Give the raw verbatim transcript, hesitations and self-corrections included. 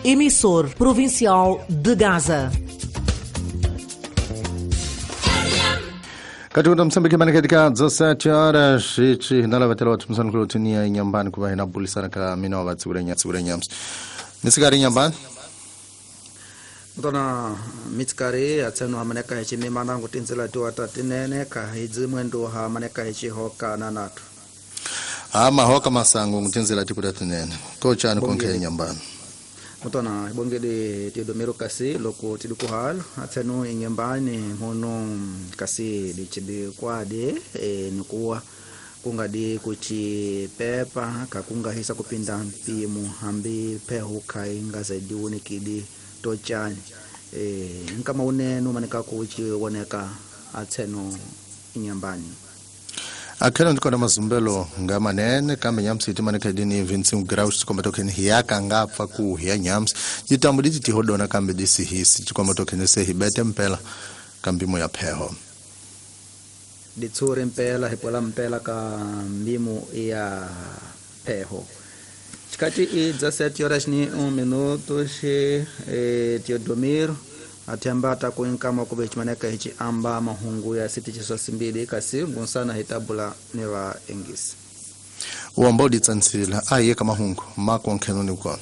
emissor provincial de Gaza. Katika Msambiki mane katika dezessete horas ichi nalavatela watu msana kulotinia inyambani kuba hina bulisana ka mina wabatsigure nyatsigure nyamsi. Nisigari inyambani? Mtona mitsikari atseno hamaneka hichi mimana ngutinzela tiwata tinene ka hidzi mwendo hamaneka hichi hoka nanatu. Ama hoka masango ngutinzela tikuta tinene. Kochani konke inyambani. Mutona ibongede Teodomiro kasi loko tidikuhal atseno inyambani mono kasi dichibi kwade e, nikuwa kungadi kuchipepa kakungahisa kupinda mpimo hambi phehu khainga zaidi unikidi tochani e, nkama uneno manika kuchiwoneka atseno inyambani. Akhelo ndikona mazumbelo ngamanene kambe nyamsi itimane khedini Vincent Grauch tikomba tokheni hiyaka ngapfa ku hiya nyamsi jitambu diti tihodona kambe disihisi tikomba tokheni sehibete mpela kambimo ya pheho ditsure mpela hipola mpela ka mbimo ya pheho chikati i dezessete horas ni um minuto she eh, Teodomiro athembata kuinkama kube chimaneka hichi amba mahungu ya siti chiswasimbili kasi ngunsana hitabula ni va engisi uamba uditsansila aye kamahungu makonkheno ni kona.